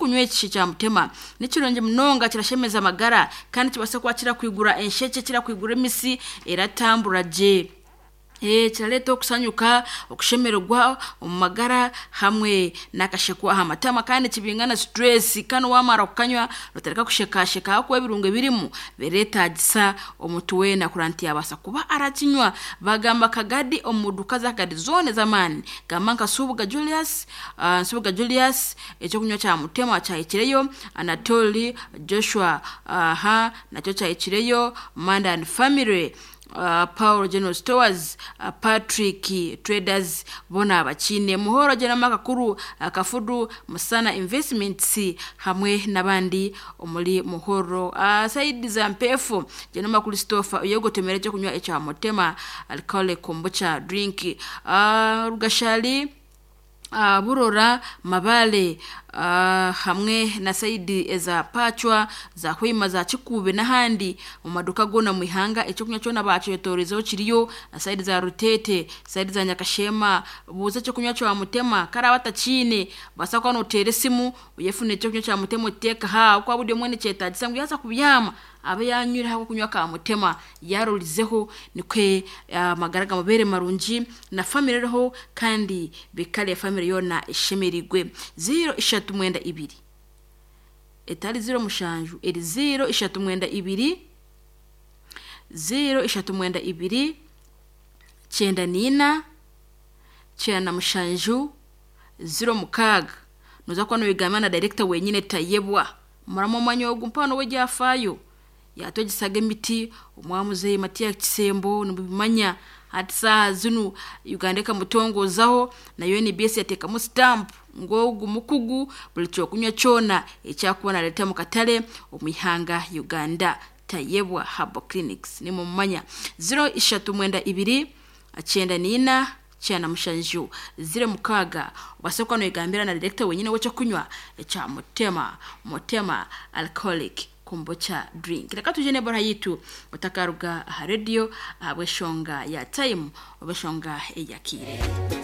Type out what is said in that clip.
Ekyokunywa eki kya mutema ni kirungi munonga, kirashemeza amagara kandi kibaasa kuba kirakwigura enshekye, kirakwigura emisi eratambura gye. Kirareeta okusanyuka, okushemererwa omu magara hamwe n'akasheko aha matama kandi kibinga na stress. Kandi waamara kukanywa nootandika kushekasheka ahakuba ebirungo ebirimu bireetagisa omuntu weena kurora nti yaabaasa kuba arakinywa. Bagamba Kagadi omu duuka za Kagadi zoona ez'amaani. Gamba nka Nsubuga Julius, Nsubuga Julius ekyokunywa kya mutema kyahikireyo, Anatoli Joshua aha nakyo kyahikireyo, Manda and Family, Paul General Stores, Patrick Traders boona bakiine. Muhoro General Makakuru, Kafudu Musana Investments hamwe n'abandi omuri Muhoro. Saidi za Mpeefu General Christopher oyegotomera ekyokunywa ekya mutema alcoholic kombucha drink. Rugashari Burora Mabale hamwe na saidi eza Pachwa za Hwima za Kikuube n'ahandi omu maduuka goona omu ihanga ekyokunywa kyona bakyetoreizeho kiriyo na saidi za Ruteete, saidi za Nyakashema. Buuza ekyokunywa kya mutema karaaba atakiine obaasa kuba nooteera esimu oyefunire ekyokunywa kya mutema okiteeke aha ahabw'okuba buri omwe nikyetaagisa ngu yaaza kubyama abe yanywire akokunywa ka mutema yaarorizeho nikwe amagara gamubeere marungi na famire eriho kandi bikare famire yoona eshemereirwe. 0392 etari 07 eri 0392 0392 94 97 06. Nooza kuba noyegamba na director wenyine Tayebwa. Muramu omwanya ogu mpaho we ryafaayo yatwegisaga emiti omwamuzeeyi Matiya Kisembo nimubimanya. Hati saaha zinu Uganda ekamutongozaho na UNBS yateekamu stamp ngu ogu mukugu buri kyokunywa kyona eki arikuba naareeta omu katare omu ihanga Uganda. Tayebwa Herbal Clinics nimumumanya. 0392 94 97 06 obaase kuba noyegambira na director wenyine w'ekyokunywa ekya Mutema, Mutema Alcoholic Kombucha Drink. Reka tuje n'ebora yitu otakaruga aha rediyo ahabw'eshonga ya time oba eshonga eyakiire.